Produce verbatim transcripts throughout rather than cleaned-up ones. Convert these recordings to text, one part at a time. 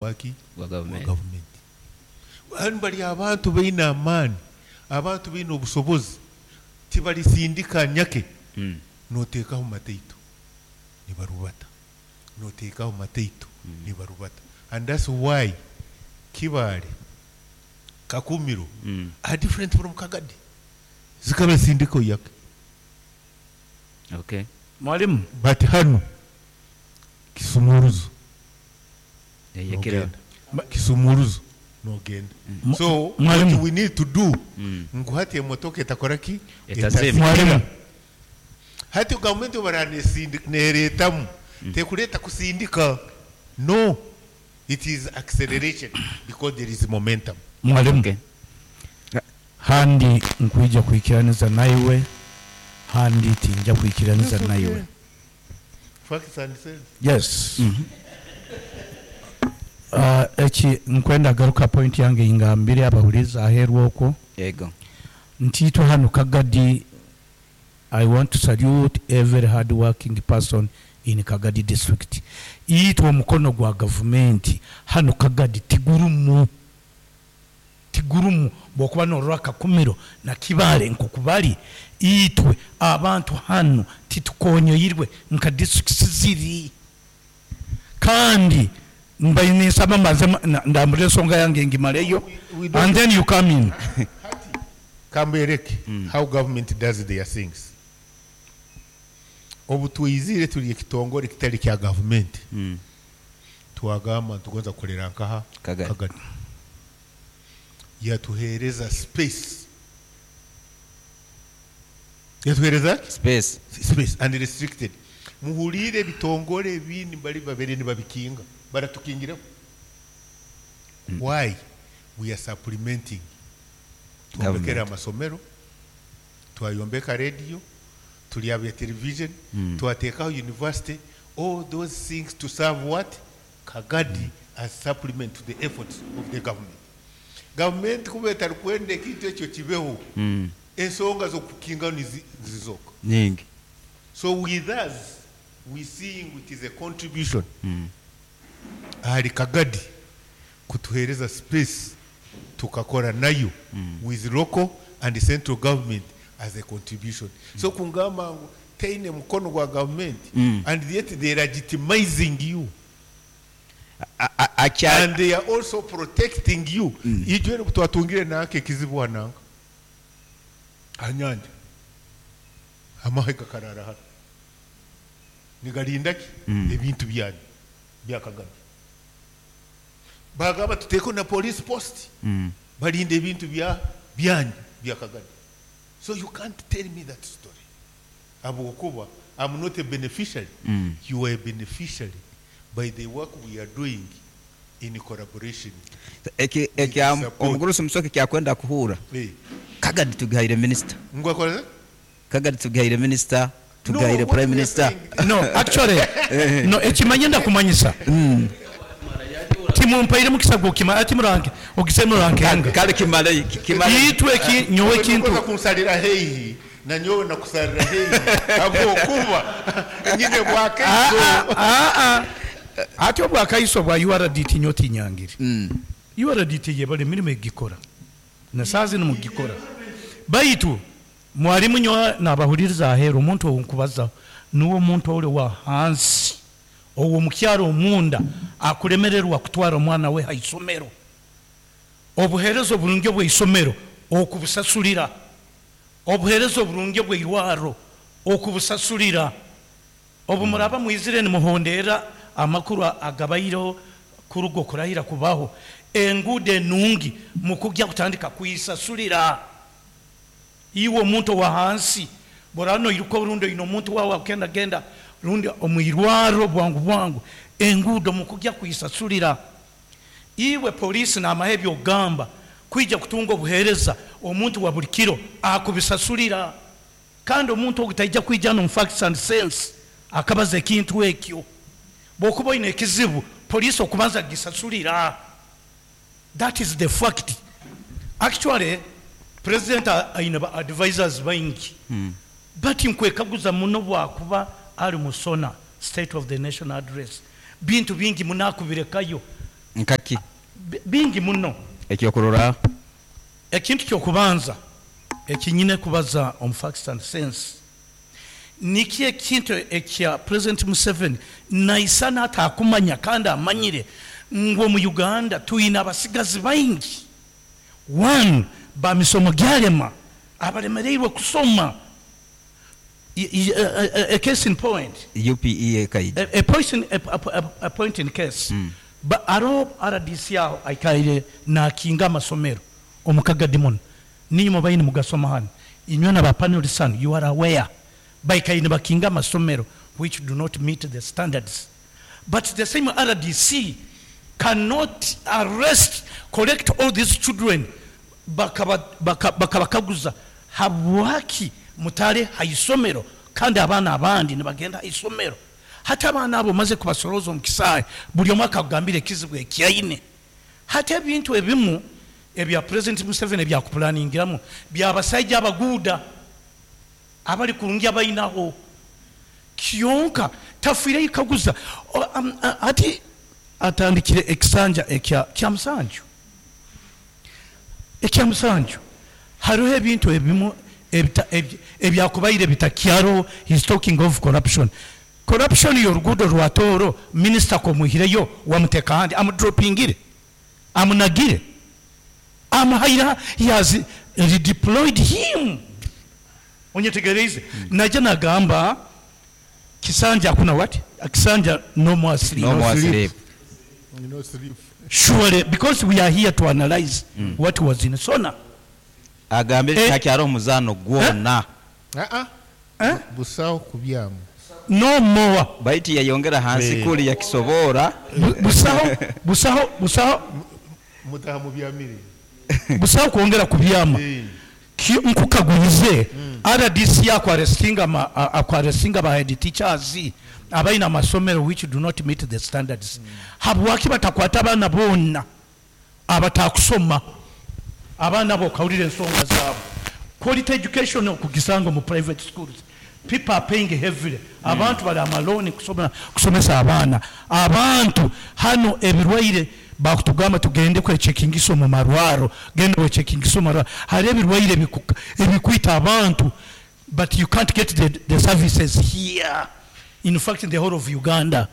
Waki? Gwa Gwa gavumenti. Gavumenti. Hanu bari abantu baine amaani, abantu baine obusobozi, tibalisindika nyake. Mm. Noteekaho mataito nibarubata, noteekaho mataito nibarubata, and that's why Kibaale, Kakumiro Mm. are different from Kagadi, zikabasindika oyake. Okay. Mwalimu. But hanu kisumuruzo Eyekera. nogenda, kisumuruzo nogenda. Mu- So Mwalimu. what we need to do, Mm. ngu hati emotoka etakora ki? Etazima. Mwalimu. Hati gavumenti obara neeretamu, tekureta kusindika, no, it is acceleration because there is momentum. Mwalimu. Okay. Handi nkwija kwikiraniza naiwe, handi tinja kwikiraniza naiwe. Facts and sense. Yes. Mhm. Uh, eki nkwenda garuka point yange ingambire abahuriza aheeru okwo Ego. nti itwe hanu Kagadi, I want to salute every hard working person in Kagadi District. Itwe omukono gwa gavumenti hanu Kagadi tigurumu, tigurumu. Bwokuba norora Kakumiro na Kibaale nkokubali, itwe abantu hanu titukonyoirwe nka districts ziri. Kandi mbaye ninsaba mbanze ma- na- ndambure ensonga yange ngimaleyo We don't- and then you come in. Kambereke how government does their things. Obu twizire turi ekitongore kitari kya gavumenti, Mm. twagamba ntugonza kukorera nkaha? Kagadi. Kagadi. Yatuhereza space, yatuhereza ki? Space. Space and restricted. Muhulire, ebitongore ebindi bali babere nibabikinga, baratukingireho. Why? We are supplementing. Twombekere Government. amasomero, twayombeka radio, tuli abya television, Mm. twateekaho university, all those things to serve what? Kagadi, as supplement to the efforts of the government. Government kuba etarikwenda ekintu ekyo kibeho, Mm. ensonga z'okukingaho nizi- nizizoka. Nyingi. So with us, we seeing it is a contribution Mm. ahari Kagadi kutuhereza space tukakora nayo with local and central government as a contribution. So kungamba ngu teine mukono gwa government, Mm. and yet they are legitimizing you A- a- Acha and they are also protecting you. Ijwe twatungire nanka ekizibu hananga hanyanja, amahe gakarara hano nigarinda ki? Mm. Ebintu byanyu bya Kagame. Bagamba tuteeko na police post, Mm. balinda ebintu bya byanyu bya Kagame. So you can't tell me that story habwokuba I'm not a beneficiary. Mm. You are a beneficiary by the work we are doing in collaboration. Eki ekya Support. omugurusi Musoke kyakwenda kuhura. Hey. Kagadi tugaire minister. Ngwakoze. Kagadi tugaire minister, tugaire No, what prime we are minister. saying- No, actually no, ekimanye ndakumanyisa timumpaire mukisa gwokima ati muranke ogise murankenga. Kale kimale kimale. Itwe eki nyowe ekintu Nkoza kunsalira heihi na nyowe nakusalira heihi habwokuba nyine bwakaiso. Ah, ah. Ate obwakaiso bwa U R D T nyo tinyangire. Mm. U R D T yebale emirimu egikora nasaazi nimugikora, baitu mwalimu nyo nabahuliriza aheeru, omuntu owu nkubazaho niwe omuntu ori wa hansi owo mukyaro omunda akulemererwa kutwara omwana we haisomero, obuheereza oburungi obweisomero okubusasulira, obuheereza oburungi obweirwaro okubusasulira. Obu muraba mwizire nimuhondera amakuru agabaireho kuruga okurahira kubaho, enguudo enungi mukujja kutandika kuisasulira. Iwe omuntu owa hansi boraba noiruka orundi oine omuntu wawe akenda genda rundi omwirwaro bwangu bwangu, enguudo mukujja kuisasulira. Iwe polisi n'amahe byogamba kwija kutunga obuheereza, omuntu wa buli kiro akubisasulira. Kandi omuntu ogu taija kwija no facts and sense akabaza ekintu ekyo. Bwokuba oine ekizibu, polisi okubanza gisasulira. That is the fact. Actually president aine ba advisors baingi, Mm. but nkwekaguza muno bwakuba ali musona state of the nation address, bintu bingi munakubirekayo. Nkaki? Bi- bingi muno. Ekyokurora? Ekintu kyokubanza ekinyine kubaza omu facts and sense, niki ekintu ekya President Museveni naisana atakumanya kandi amanyire ngu omu Uganda tuyina abasigazi baingi, one, bamisomo gyalema, abalemereirwe kusoma. I- I- a, a, a case in point, U P E ekaija. a, a, point in, a, a, a, a point in case, mm. Ba aro R D C aho aikaire nakinga amasomero omukagadi muno, ninyuma baini mugasoma hano, inywe na bapanelists hano, you are aware baikaire nibakinga amasomero which do not meet the standards, but the same R D C cannot arrest, collect all these children, bakaba- baka- bakabakaguza habwaki mutale haisomero kandi abaana abandi nibagenda haisomero. Hati abaana abo maze kubasoroza omu kisaayi, buli omu akagambira ekizibu ekyaine. Hati ebintu ebimu ebya President Museveni ebyakuplaningiramu byabasaija abaguuda abali kurungi abainaho, kyonka tafiireyo ikaguza. O- am- a- ati atandikire ekisanja ekya kya musanju, ekya musanju, hariho ebintu ebimu ebita- ebi- ebyakubaire bitakyaro. He's talking of corruption, corruption y'oruguudo rwa Tooro. Minisita komuhireyo wamuteka ahandi, amudropingire, amunagire, amuhaira, he has redeployed him. Onyetegereize? Najja nagamba kisanja hakuna what, kisanja no more sleep. No more sleep. No sleep. Surely, because we are here to analyze what was in SONA. Agambire Eh. takyari omuzaano gwona. Ah, ah. Eh? Busaho kubyamu. No more. Baitu yayongera hansi Eh. kuli yakisobora. Bu- busaho busaho busaho. Mutaha mu byamire. Busaho kwongera kubyama. Eh. Ki- nkukagulize, R D C akwarestinga ma- a- akwarestinga ba head teachers abalina amasomero which do not meet the standards, habwaki batakwata abaana bonna abatakusoma, abaana bo okawulira ensonga zaabwe? Quality education okugisanga mu private schools, people are paying heavily, abantu bali amalooni kusoma, kusomesa abaana. Abantu hano ebirwaire bakutugamba tugende kwechekingisa mu marwaro, genda wechekingisa mu marwaro, hari ebirwaire ebiku- ebikwita abantu, but you can't get the, the services here. In fact, in the whole of Uganda,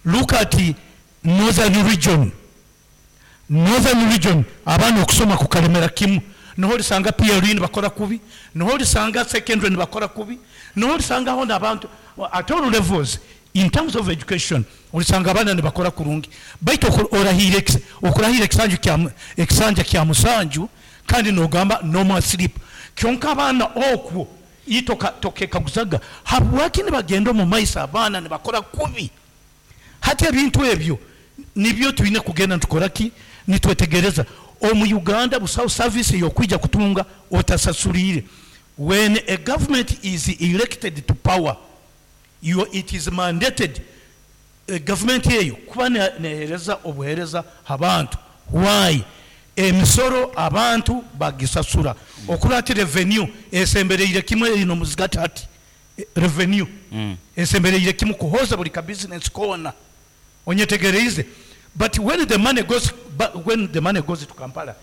look at the northern region. Northern region abaana okusoma kukalemera kimu. Noho olisanga P L E nibakora kubi, noho olisanga secondary nibakora kubi, noho olisangaho n'abantu at all levels in terms of education, olisanga abaana nibakora kurungi. Baitu oku- orahire ekis- okurahira ekisanju kya mu- ekisanja kya musanju kandi nogamba no more sleep, kyonka abaana okwo itoka tokekaguzaga habwaki nibagenda omu maiso, abaana nibakora kubi. Hati ebintu ebyo nibyo twine kugenda nitukora ki, nitwetegereza. Omu Uganda busaho service yokwija kutunga otasasulire. When a government is elected to power, you, it is mandated, eh, government eyo kuba ne- nehereza obuhereza abantu. Why? Emisoro abantu bagisasura okurati revenue esembereire kimwe ino muzigati. Hati eh, revenue esembereire kimwe kuhoza buli ka business kona. Onyetegereize? But when the money goes ba- when the money goes to Kampala,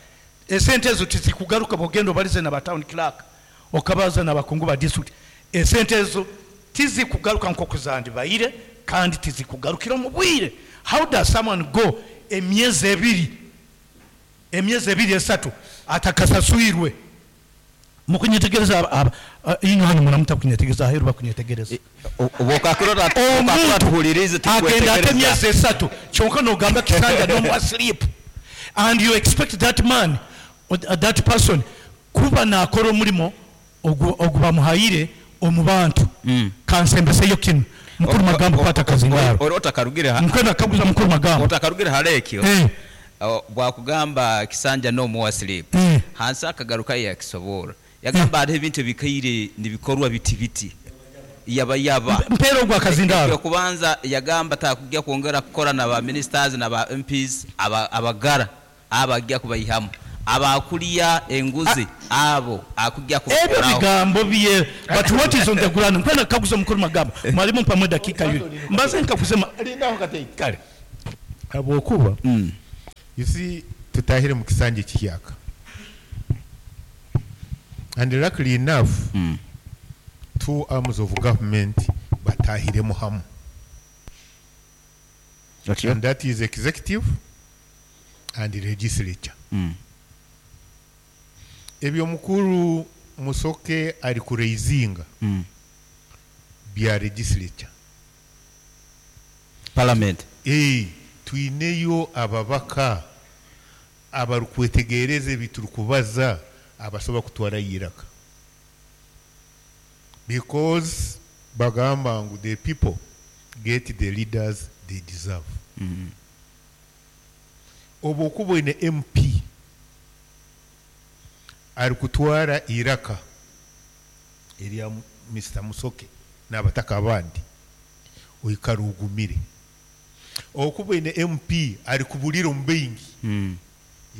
esente ezo tizikugaruka. Bwogenda obalize na ba town clerk, okabaza n'abakungu ba district, esente ezo tizikugaruka nk'oku zandibaire kandi tizikugarukira mu bwire. How does someone go emyezi ebiri, emyezi ebiri, esatu atakasaswirwe? Mukunyetegereza? aba- aba- ino hano muramuta kunyetegereza, aheru bakunyetegereza. Obwokakirora Omuntu tuhulirize. agenda ate Tukwetegereza. emyezi esatu, kyonka nogamba kisanja no more sleep, and you expect that man or that person kuba nakora omulimo ogu ogu bamuhaire omu bantu. Kansembeseyo kino, mukuru Magambo, kwata akazindaro. Ori otakarugire ha- Nkwenda kaguza mukuru Magambo. Otakarugire hara ekyo. Eh, O, bwakugamba kisanja no more sleep, eh. hansi akagaruka yakisobora, yagamba hariho ebintu ebikaire nibikorwa biti biti yaba yaba. Mpeera ogwo akazindaro. Okubanza yagamba takujja kwongera kukora na ba ministers na ba M Ps aba- abagara abajja kubayihamu abakulya enguzi abo akujja Ebyo kubakoraho. bigambo bye, but what is on the ground? Nkwenda kaguza mukuru Magambo. Mwalimu, mpamwe dakika yuli mbaze nkakuze ma- Lindaho katei. Kale. Habwokuba Mm. you see, tutahire mu kisanja ekihyaka, and luckily enough, Mm. two arms of government batahiremu hamu, Otyo? and that is executive and legislature. Mm. Ebyo mukuru Musoke ari kuraisinga Mm. bya legislature. Parliament. Eh, twineyo ababaka abarukwetegereza ebi turikubaza, abasobola kutwara iraka, because bagamba ngu the people get the leaders they deserve. Mm. Obu okuba oine M P ari kutwara iraka erya Mister Musoke n'abataka abandi, oikara ugumire. Okuba oine M P ari kubulira omu baingi, Mm.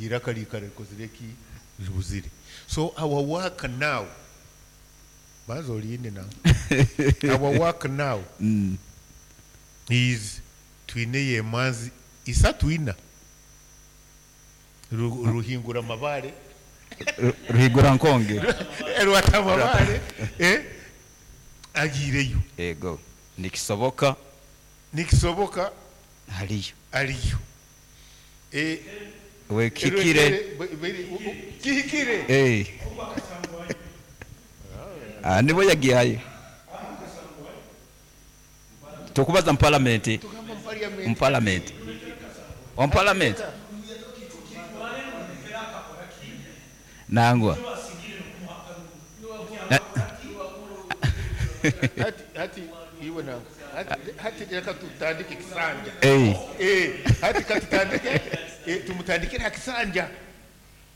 iraka liikara rikozire ki? Ribuzire. So our work now, baza olinde now, our work now Mm. is twineyo emanzi isatu, ina. Ru- ruhingura amabare. Ru- ruhigura nkonge. Rwata amabare, eh, agiireyo. Ego, nikisoboka. Nikisoboka. Haliyo. Aliyo. Eh, wekikire. Be- be- u- u- kihikire. Eh. Ah, nibo yagihayo tukubaza mu parliament. Tugamba mu parliament. Mu parliament, omu parliament nangwa. Hati hati iwe nanga hati, hati reka tutandike kisanja. Eh, eh, hati katutandike, eh, tumutandikire ha kisanja.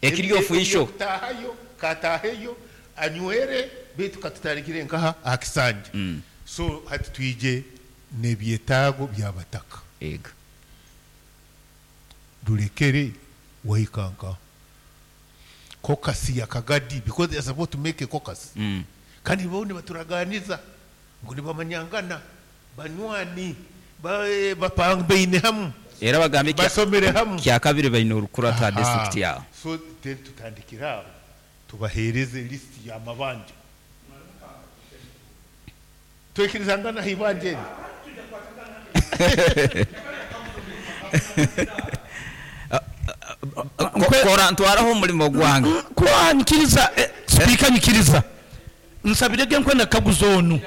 Ekiri official. Kutahayo kataheyo anywere, bitu katutandikire nkaha aha kisanja. Mm. So hati twije n'ebyetaago by'abataka. Ego. Rurekere waikanka caucus ya Kagadi, because they are supposed to make a caucus. Mm. Kandi bo nibaturaganiza ngu nibamanyangana, banywani, ba- bapambaine hamu. Era bagambye kya- Basomere hamu. Kya kabiri baine orukurata Aha. district yawe. So then tutandikire aho, tubahereze list y'amabanja, twekirizangana haibanja eri. Ko- kora ntwaraho omulimo gwange. Kuba nyikiriza, eh, sipiika, nyikiriza nsabirege nkwenda kaguza onu.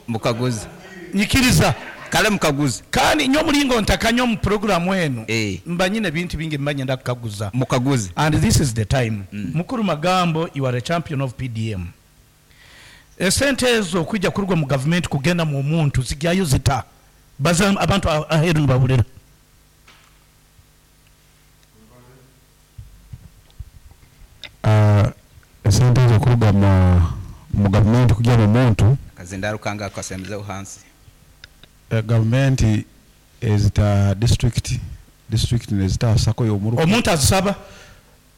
Mukaguzi. Nyikiriza. Kale mukaguzi. Kandi nyo omulingo ntakanya omu puroguramu eno, Eh. mba nyine ebintu bingi mba nyenda kukaguza. Mukaguzi. And this is the time. Mukuru Magambo, you are a champion of P D M. Esente ezo okwijja kurugwa mu gavumenti kugenda mu muntu zijyayo zita? Baza abantu a- aheeru nibabulira. Ah, esente ezo okuruga mu mu gavumenti kujya mu muntu, Akazindaaro kange akasembezeho hansi. eh, gavumenti ezita district, district nezita sako y'omuruka. Omuntu azisaba?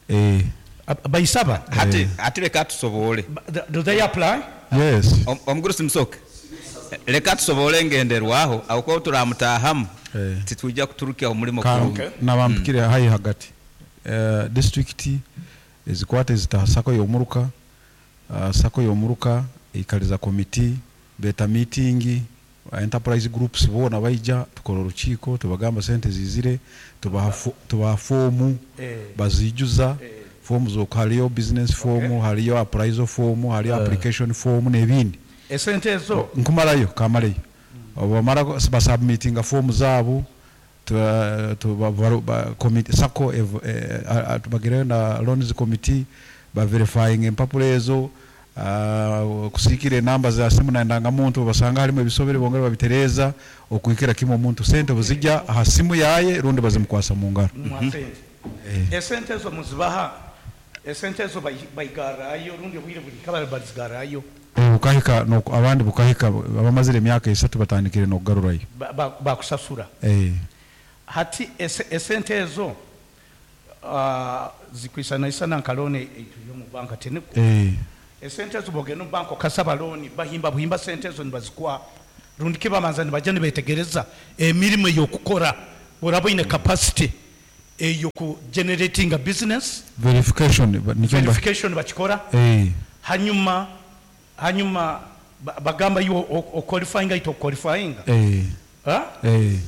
Eh, Ab- bayisaba? Hati hati leka tusobole. Ba- do they apply? Yes. Om- omugurusi Musoke, leka tusobole ngenderwaho aho kuba turamutahamu, Eh. titwijja kuturukya omulimo Ka- kurungi. Nabampikire hayi hagati. Eh, district ezikwata ezita sako y'omuruka, uh, sako y'omuruka ikaliza komiti, beta meeting, enterprise groups boona baija, tukora orukiiko, tubagamba sente zizire, tubaha fo- tubaha foomu, Eh. bazijuza fomu zo, hariyo business form, hariyo appraisal form, hariyo application form n'ebindi. Esente ezo Nkumarayo, kamaleyo. Bamara basubmitinga fomu zaabo, tuba- tuba- baru- ba- committee sako ev- eh, a- a- tubagireyo na loans committee, baverifying empapula ezo, ah, kusiikira enamba za simu na ndangamuntu, basanga harimu ebisobere bongera babitereeza okuhikira kimwe omuntu sente buzijja aha simu yaye rundi bazimukwasa mu ngaro. Mwa sente, esente ezo muzibaha, esente ezo bayi- bayigarrayo rundi obwire buli kabara bazigarrayo? Eh, bukahika noku- abandi bukahika, abamazire emyaka esatu batandikire n'okugarurayo. Ba- ba- bakusasura? Eh, Hati ese- esente ezo, ah, zikwisanaisana nka looni eituyo mu banka teniku? Eh, Esente ezo bogenda omu banka okasaba looni, bahimba buhimba sente ezo nibazikwa, rundi kibamanza nibajya nibetegereza emirimu ey'okukora? Oraba oine capacity eyoku generating a business. Verification ba- nikyo mba- Verification bakikora. Eh, Hanyuma hanyuma ba- bagamba iwe oqualifyinga ito qualifyinga. eh, Ha? eh,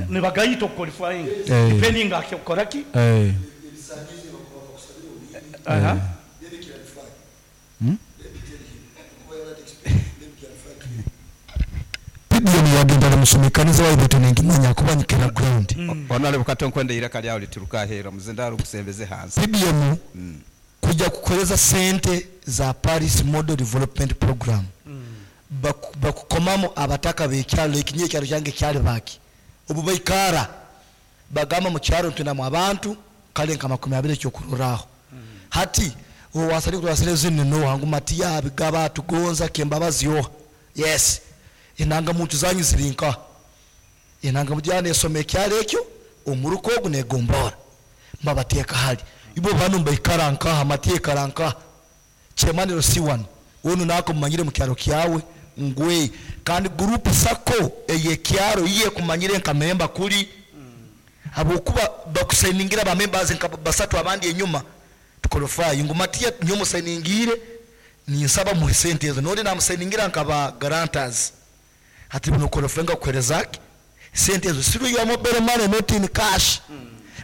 Nibagayita okuqualifyinga Eh. depending akikora ki. eh. Aha. P D M yagenda musomekaniza waibeto nengimanya kuba nyikira ground. Honorable Kato, nkwenda iraka lyawe lituruka ahera muzindaro gusembeze hansi. P D M kujja kukoleza sente za Paris Model Development Program, Baku- bakukomamu abataka bekyalo ekinye ekyalo kyange kyali baki obu baikara bagamba mu kyalo ntinamu abantu kale nka makumi abiri. Ekyokuroraaho hati owasali kutwasire zino noha ngu matiya bigaba tugonza kembabazi yoha yes enanga muntu zanyu ziri nka enanga mujyana esoma ekyalo ekyo omuruko ogu negombora mbabateeka hali ibo bano mbaikara nkaha matiya ikara nkaha chemaniro si wano onu nako mumanyire mu kyalo kyawe ngwe kandi group sako eyekyaro iye kumanyire nka memba kuli habwokuba bakusainingira ba members nka basatu abandi enyuma tuqualify ngu matiya nyo musainingire ninsaba muhe sente ezo noli namusainingira nka ba guarantors hati buno qualify nga kuherezaki sente ezo siru ya mobile money, not in cash.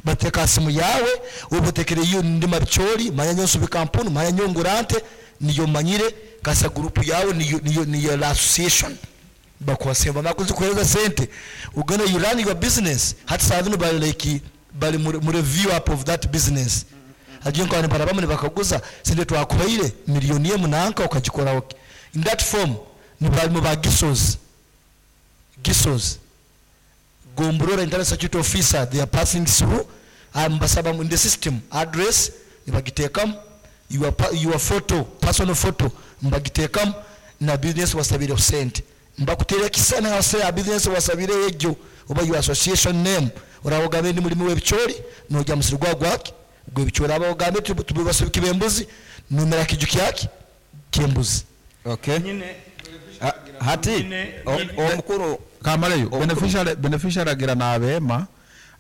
Bateka simu yawe ubutekere iyo ndi mabichori manya nyonso bikampuni manya nyongurante niyo manyire kasa group yawe niyo niyo niyo la association bakuwasemba makuzi kuhereza sente ugana you run your business. Hati saa zino bali like bali mu mu review up of that business agiye nkabana barabamwe bakaguza sente twakuhaire miliyoni emu nanka ukagikora okay. In that form ni bali mu ba gisos gisos Gomborora internal security officer, they are passing through ambasaba in the system address nibagitekamu your, pa- your photo, personal photo mbagitekamu na business wasabire sente mbakutera kisana wase ya business wasabire ejo oba your association name orawogambe ndi mulimi w'ebichori nojya musiri gwa gwaki gw'ebichori abawogambe tubasubika embuzi numera kiju kyaki kyembuzi. Okay. Nyine. Ha- hati Nyine- o- nyine- omukuru Kamaleyo. Omukuru- Beneficiary beneficiary agira n'abeema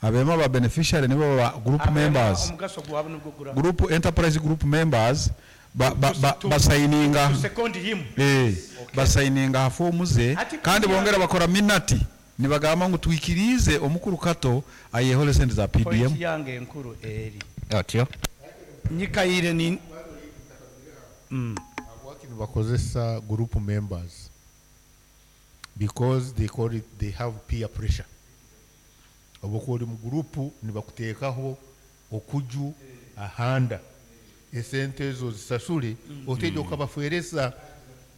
abeema ba beneficiary nibo ba group members. Omugaso gwabwe nibwo gura Group enterprise group members ba ba ba To- basayininga to second him. eh basayininga fomu ze. Ati kandi kugira- bongera bakora minati nibagamba ngu twikirize omukuru Kato ayehole sente za Point P D M. yange enkuru eri otyo nyikaire ni Working bakozesa group members because they call it they have peer pressure oba ori mu group nibakuteekaho okuju ahanda esente ezo zisasule oteja okabafereza.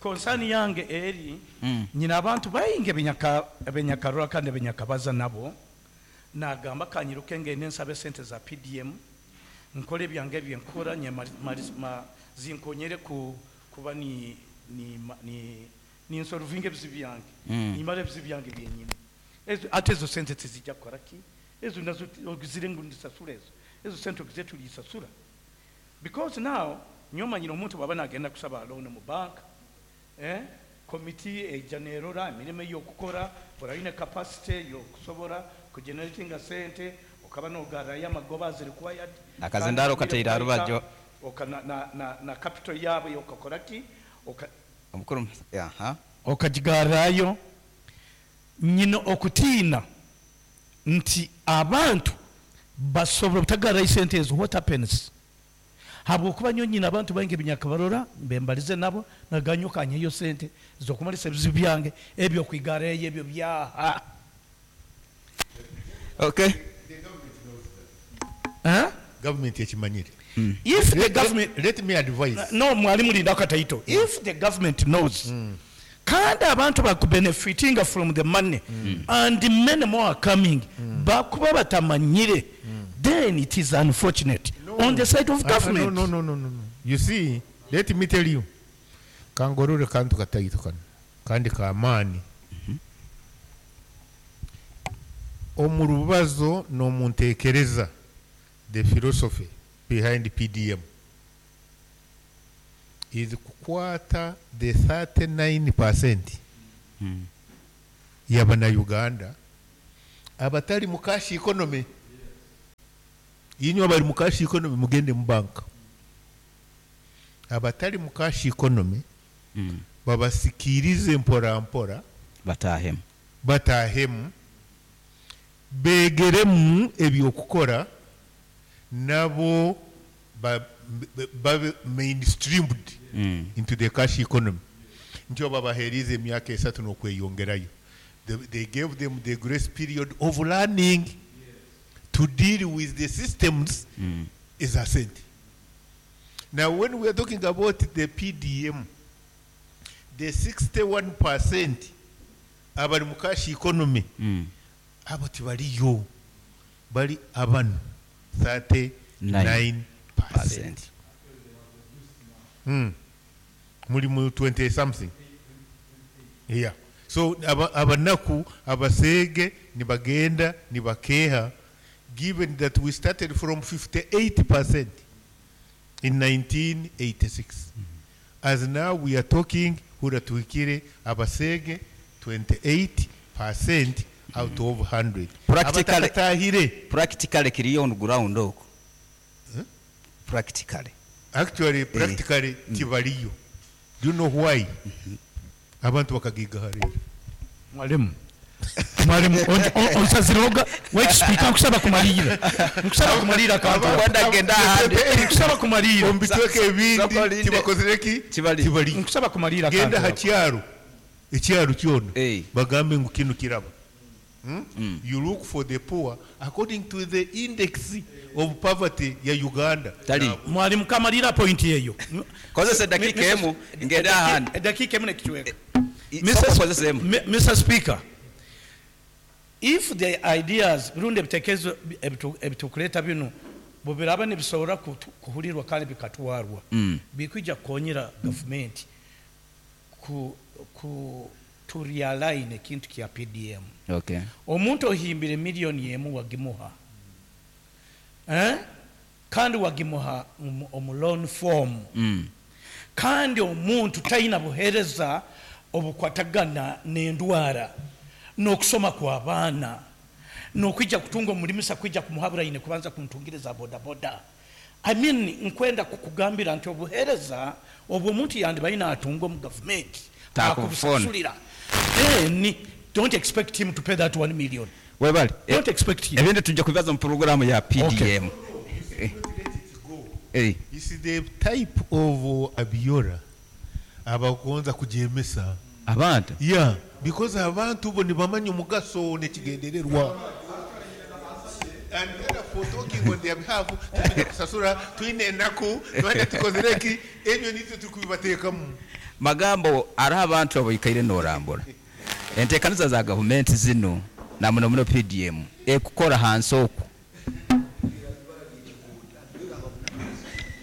Concern yange eri nyina abantu bayingi ebinyaka ebenyakarora kandi ebenyakabaza nabo nagamba kanyiruke ngende nsabe sente za P D M nkole ebyange byenkora nye mari- mari- ma- zinkonyere ku kuba ni ni ma- ni ninsolvinga ebizibu byange nimara ebizibu byange byenyine. Ezo ate ezo sente tezijja kukola ki ezo nazo ogizire ngu ndisasula ezo ezo sente ogize tulisasula because now nyomanyire omuntu bwaba nagenda kusaba loan mu bank, eh komiti ejja nerora emirimu ey'okukora orayine capacity yokusobora kugeneratinga sente okaba nogarrayo amagoba as required. Akazindaro kateire aha rubaju. Oka na, na, na, na capital yaabwe okakora ki oka Omukuru aha. Okagigarrayo nyina okutiina nti abantu basobora obutagarrayo sente ezo. What happens habwokuba nyo nyina abantu baingi ebinyakabarora mbembalize nabo naganyo kanyeyo sente zokumalisa ebizibu byange ebyo okwigareyo ebyo byaha. Okay. Eh? Government ekimanyire. If the Let- government let, let me advise. No, mwalimu linda akataito. If the government knows kandi abantu bakubenefitinga from the money and many more are coming bakuba batamanyire, then it is unfortunate on the side of Ah, government. no, no, no, no, no. You see, let me tell you kangorore kantu kataito kano kandi kamaani omu rubazo n'omunteekereza. The philosophy behind P D M is kukwata the thirty-nine percent y'abannayuganda Abatali mu cash economy, inywe abali mu cash economy mugende mu banka. Abatali mu cash economy Mm. babasikirize mpora mpora, Batahemu. batahemu, begeremu ebyokukora, nabo ba- ba- babe mainstreamed Mm. into the cash economy. Ntyo babaherize emyaka esatu n'okweyongerayo. They, they gave them the grace period of learning to deal with the systems Mm. eza sente. Now when we are talking about the P D M, the sixty-one percent abali mu cash economy, Mm. abo tibaliyo, bali abanu thirty-nine percent. Percent. Mm. Muli mu twenty something, yeah. So aba- abanaku abaseege nibagenda nibakeha, given that we started from fifty-eight percent in nineteen eighty-six. As now we are talking, hura tuhikire abaseege twenty-eight percent out of one hundred. Practically- Abatakatahire. Practically kiriyo on ground okwo. Practically. Actually, practically tibaliyo. Do you know why? Abantu bakagigaharira. Mwalimu, mwalimu, onsaziroga wait, Speaker, nkusaba kumalira, nkusaba kumalira kantu. Wanda genda ahandi. Nkusaba kumalira. Omu bitweka ebindi Sakolinde. tibakozereki. Tibali. Tibaliyo. Nkusaba kumalira Genda kantu. ha kyaro, ekyaro kyona, Eh. bagambe ngu kino kiraba. Hmm? You look for the poor according to the index of poverty ya Uganda. Tali. Mwalimu, kamalira point eyo. Kozesa eddakiika emu ngende ahandi. Eddakiika emu nekitweka. Sooka okozese emu. M- Mister Speaker, if the ideas rundi ebitekerezo ebitu- ebitukuleeta bino bwebiraba nibisobora kutu- kuhulirwa kandi bikatwarwa, Mm. bikwija kukonyera gavumenti ku, ku to realign ekintu kya P D M. Okay. Omuntu ohimbire miliyoni emu wagimuha, eh? Kandi wagimuha omu- omu loan form, Mm. kandi omuntu talina buheereza obukwatagana n'endwara n'okusoma kw'abaana n'okwijja kutunga omulimisa kwijja kumuhabura ine kubanza kumutungiriza bodaboda. I mean, nkwenda kukugambira nti obuheereza obwo omuntu yandibaine atunga omu gavumenti Takubufuna. akubusasulira, then don't expect him to pay that one million. Webale. Don't expect him. Ebindi tujja kubibaza mu porogaramu ya P D M. Eh. Eh. Is the type of uh, abiora abagonza kujemesa. Abantu. Yeah, because abantu bo nibamanya omugaso nekigendererwa, and therefore talking on their behalf, tulina kusasura, tulina enaku, twine tukozereki, ebyo nitwe tukubibateekamu. Magambo ariho abantu abaikaire norambura enteekaniza za gavumenti zino na muno muno P D M ekukora hansi okwo.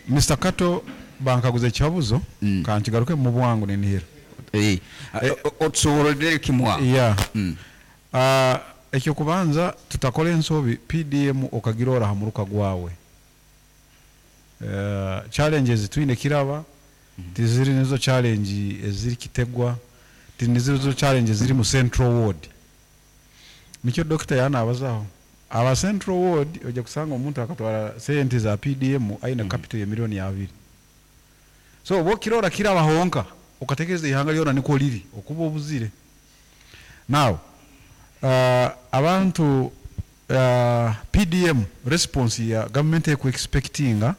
Mister Kato, bankaguza ekihabuzo. Mm. Kankigaruke mu bwangu ninihira. Eh, otusoborere kimwa. Yeah. Mm. Ah, ekyokubanza, tutakora ensobi P D M okagirora ha muruka gwawe. Uh, challenges twine kiraba tiziri nizo challenge eziri Kitegwa, tinizo challenge ziri mu Central Ward. Nikyo dokita yanabazaho aba Central Ward, ojja kusanga omuntu akatwara sente za P D M aine capital ya miliyoni abiri. So oba okirora kiraba honka okatekereza ihanga lyona niko liri, okuba obuzire. Now uh, abantu uh, P D M response ya government eku expectinga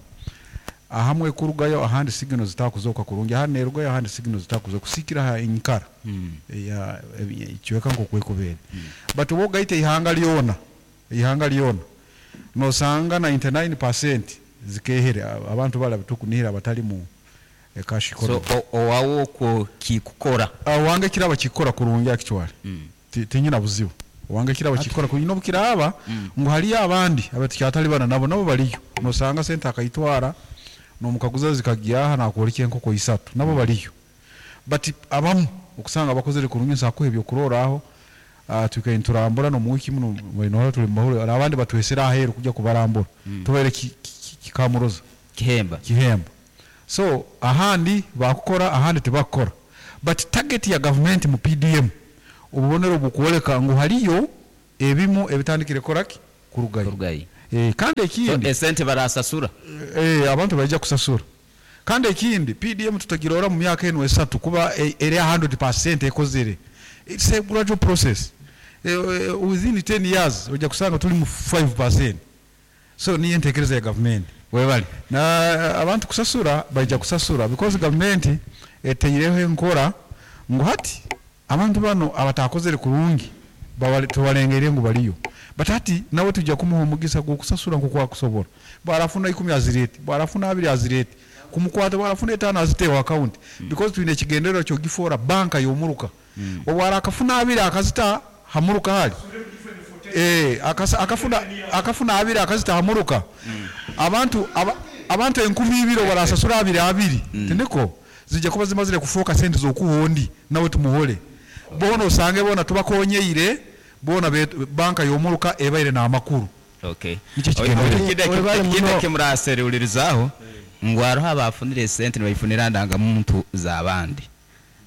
ahamwe kurugayo, ahandi signal zitakuzoka kurungi, ahandi nerugayo, ahandi signal zitakuzoka kusikira ha enyikara Mm. ya ikiweka nko kwekubere. But oba ogaita ihanga lyona, ihanga lyona nosanga ninety-nine percent zikehere abantu bala tukunihira abatali mu eh, cash So economy. o- owawo okwo kikukora. Wange kiraba kikora kurungi actually. Mm. Ti- tinyina buzibu, wange kiraba kikora kurungi nobukiraba ngu haliyo abandi abatukyatali bana nabo nabo baliyo, nosanga sente akayitwara nomukaguza zikagyaha nakwoleka enkoko isatu, nabo baliyo. But abamu okusanga bakozere kurungi, nsakuha ebyokuroraho. uh, twikaye nturambura no muwiki muno mwinohora tuli mumahuriro, abandi batwesera aheru kujya kubarambura, tubaire ki- ki- kikamuroza. Kihemba. Kihembo. So ahandi bakukora, ahandi tebakukora, but target ya government mu P D M, obubonero bukwoleka ngu haliyo Ebimu ebitandikire koraki kurugayo. Kurugayo. Eh, kandi So, ekindi esente barasasura. Eh, abantu baija kusasura. Kandi ekindi, P D M tutagirora mu myaka eno esatu kuba eh, eri one hundred percent ekozere. It's a gradual process. eh, eh, within ten years ojja kusanga tuli mu five percent. So niyo entekereza ya gavumenti. Webale. Na abantu kusasura, baija kusasura because gavumenti eteireho enkora ngu hati abantu bano abatakozere kurungi bawale- tubalengeire ngu baliyo, but hati nawe tujja kumuha omugisa gw'okusasura nkoku akusobola. Bwarafuna ikumi azirete, bwarafuna abiri azirete, kumukwata bwarafuna etaano aziteewo account, because twine ekigendererwa kyogifoora banka y'omuruka. Obwara akafuna abiri akazita hamuruka hali. Eh, akasa- akafuna akafuna abiri akazita hamuruka, abantu aba, abantu enkumi ibiri barasasura abiri abiri, tindiko zijja kuba zimazire kufuuka sente z'okuhondi nawe tumuhole bona osange bona tubakonyeire bona betu- banka y'omuruka ebaire n'amakuru. Okay. Nikyo kigendererwa. Webale Ekindi muno. ekimuraserulirizaaho ngu hariho abafunire esente nibayifunira ndangamuntu z'abandi,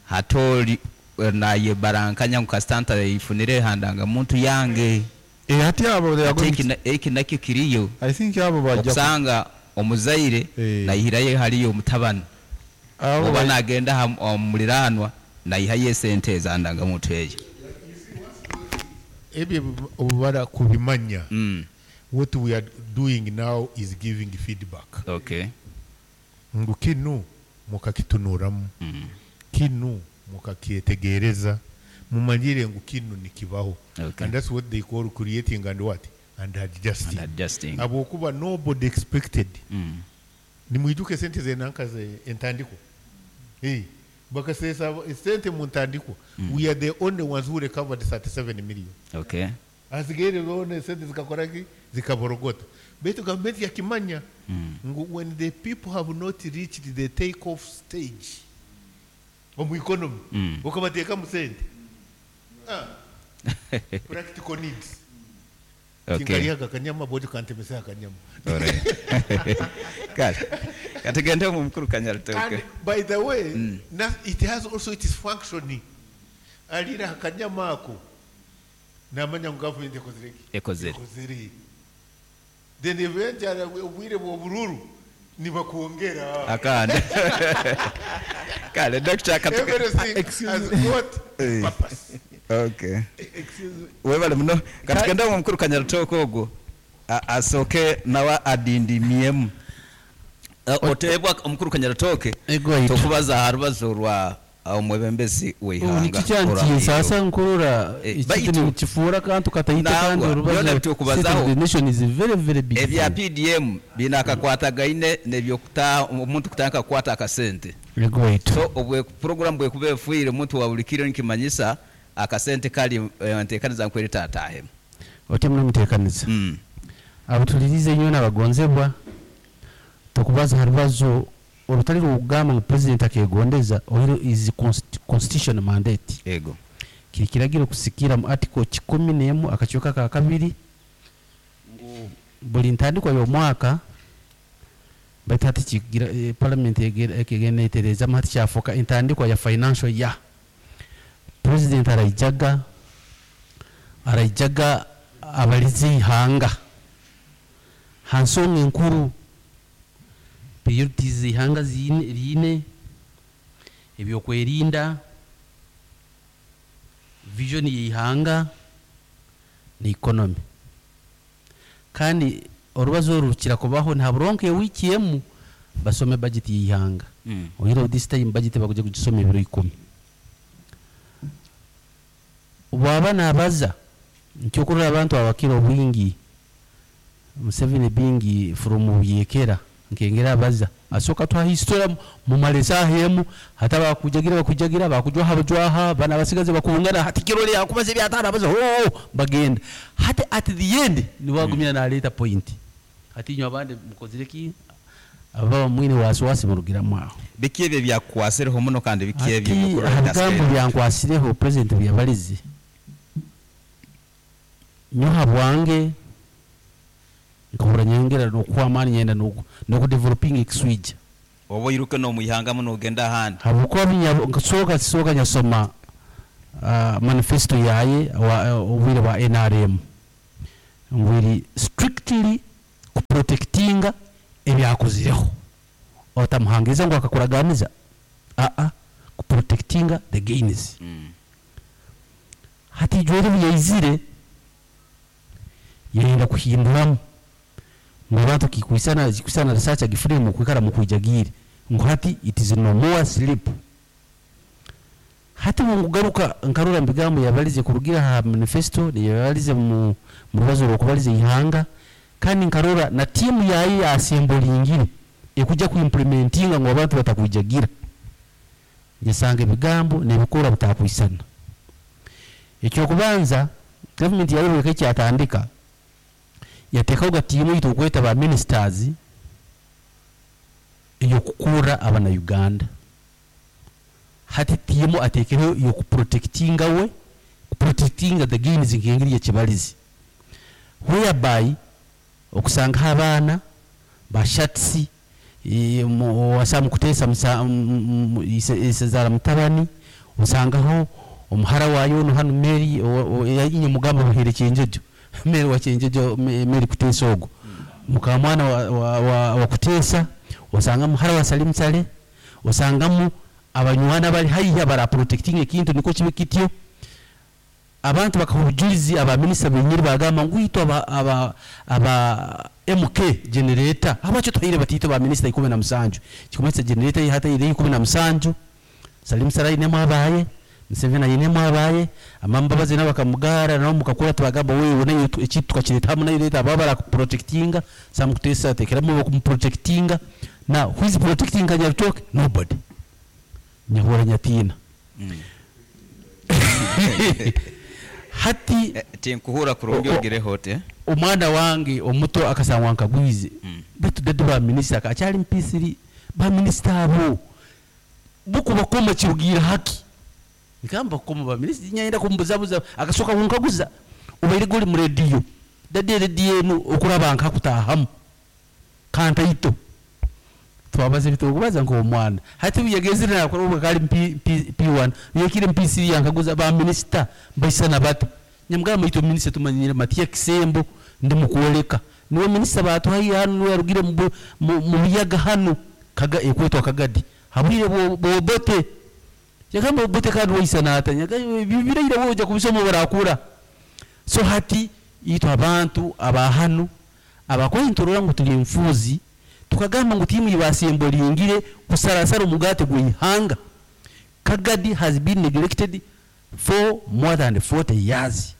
hati oli eh, nayebarankanya ngu kasita ntayifunire ha ndangamuntu yange. Eh, hati abo they are Ate going eki na- eki nakyo kiriyo. I think abo bajja ku- Okusanga omuzaire Eh. nayihirayo haliyo omutabani abo oba baj- nagenda ha- omuliranwa nayihayo esente eza ndangamuntu eyo. Ebyo obubara kubimanya. Mm, What we are doing now is giving feedback okay ngu kinu mukakitunuramu, Mm, kinu mukakyetegereza, mumanyire ngu kinu nikibaho. Okay. And that's what they call creating and what and adjusting. And adjusting. Habwokuba nobody expected. Mm. Nimwijuke sente zenanka ze entandikwa. Hey, bakasesa sente mu ntandikwa. We are the only ones who recovered thirty-seven million. Okay Asigaire zone sente zikakoraki, zikaborogota. Baitu gavumenti yakimanya ngu when the people have not reached the take off stage omu economy, Mm. okabateekamu sente. Ah, practical needs. Okay Tinkaliaga akanyama bodi kantemesa akanyama. Alright. Kale katugende mu mukuru Kanyaritoke. And by the way, na, it has also its functioning. Alira akanyama ako namanya ngu gavumenti ekozere ki? Ekozere. Ekozere. Then eventually obwire bw'obururu nibakwongera. Akandi kale Doctor katuge- Everything has got Eh. purpose. Okay, webale muno. Katugende mu mukuru Kanyaritoke ogwo a- asooke nawe adindimiemu. Eh, oteebwa omukuru Kanyaritoke. Egwaitu. Tokubaza aha rubazo rwa omwebembezi w'eihanga. Nikikyantiisa nkurora Eh, ekintu baitu- nikifuura kantu kataite kandi Nangwa, orubazo byona bitukubazaho. State of the nation is very very big Ebya thing. P D M biine akakwatagaine nebyokuta omuntu kutandika kukwata akasente. Egwaitu. So obwe program bwekuba efuire omuntu wa buli kiro nikimanyisa akasente kali eh, nteekaniza nkweri tatahemu. Otyo muno muteekaniza. Mm. Abatulirize nnyo n'abagonzebwa, tokubaza ha rubazo orutali rwokugamba ngu president akegondeza oiro is consti- constitution mandate. Ego. Kiri kiragiro kusikira mu article kikumi n'emu akakiiko ka kabiri ngu buli ntandikwa y'omwaka, baitu hati kigira eh, parliament ekegenda etereezamu, hati kyafuuka entandikwa ya financial year. President araijaga araijaga abalize ihanga ha nsonga enkuru, priorities ihanga ziine riine, ebyokwerinda, vision y'ihanga ni economy. Kandi orubazo oru rukira kubaho ntaburonka ewiki emu basome budget y'ihanga. Mm. Oira this time budget bakuja kugisoma ebiro ikumi. Bwaba nabaza nkyokurora abantu abakira obwingi Museveni bingi from Buyekera nkengera abaza asooka twa history mumale esaaha emu, hata bakujagira bakujagira bakujwaha bajwaha bana basigaze bakungana, hati kirole yakubaza ebyataano abaza oh, bagenda hati at the end niwagumya naleeta point, hati inywe abandi mukozire ki ababa mwine wasiwasi murugiramu aho. Biki ebyo byakukwasireho muno kandi biki ebyo Ati byokurora aha bigambo bitasigara? byankwasireho president byabalize nyoha bwange nkahura nyongera nokuha amaani nyenda noku nokudeveloping ekiswija. Oba oyiruke n'omwihanga muno ogenda ahandi. Habwokuba binya- nkusooka kisooka nyasoma uh, manifesto yaye wa- obwire bwa N R M ngwiri strictly kuprotectinga ebyakozireho otamuhangiriza ngu akakuraganiza aa kuprotectinga the gains. Mm. Hati ijwere buyaizire yenda kuhinduramu ngu abantu kikwisana kikwisana research agifune mu kwikara mu kwijagire ngu hati it is no more sleep. Hati mungugaruka nkarura mbigambo yabalize kurugira ha manifesto yabalize mu mu rubazo rwokubalize ihanga kandi nkarora na timu yayi ya assemblingire ekujja ku implementinga ngo abantu batakwijagira nyasanga ebigambo nebikora bitakwisana. Ekyo kubanza government yayo ekyatandika yatekaho gatimu yitu kweta ba ministers eyo kukura abana Uganda. Hati timu atekeho yo kuprotectinga we kuprotectinga the gains ngengiri ya kibalizi whereby okusanga abana ba shatsi e, wasa mukutesa musa, m-, m-, ise, isezara mutabani osangaho omuhara wayo no hano Mary yinye mugamba buhere cyenjejo Mary wa cyenjejo Mary kutesa ogo mukamwana wa, wa, wa, wa kutesa osanga muhara wa Salim Sale osangamu abanywana bali haiya bara protecting ekintu niko kibe kityo abantu bakahujulizi aba minister benyiri bagamba ngwito aba, aba, aba M K generator abacho twahire batito ba minister ikumi na musanju kikomesa generator hata ile ikumi na musanju Salim Sarai ne mwabaye Museveni ayine mwabaye amambabazi nabo bakamugara nabo mukakura tubagamba wewe nayo ekitu tukakireta hamwe nayo leta baba bara protectinga Sam Kutesa tekeramo kumprotectinga na who is protecting Kanyaritoke? Nobody. Nyahura nyatina. Mm. Hati eh, tinkuhura kurungi ogire hote omwana wange omuto akasangwa nkagwize mm. Bitu dadi ba minister akacyari mpisiri ba minister abo buku bakoma kirugira haki nikamba koma ba minister nyenda kumbuzabuza akasoka kunkaguza ubaire goli mu radio dadi radio enu okuraba nkakutahamu kanta ito twabaze bitukubaza ngo omwana hati biyagezire nakora kali P one yekire M P C yankaguza ba minister baisana bata nyamugamba ito minister tumanyire Matia Kisembo ndi mukuoleka niwe minister batu hayi hano niwe yarugire mu mu biyaga hano kaga ekwetwa kagadi habwire bobote yakamba bobote kandi waisana ata bibiraire woja kubisoma barakura so hati ito abantu abahanu abakointorora ngo tuli mfuzi tukagamba ngo timu ibasembolingire kusarasara umugate gwihanga. Kagadi has been neglected for more than forty years.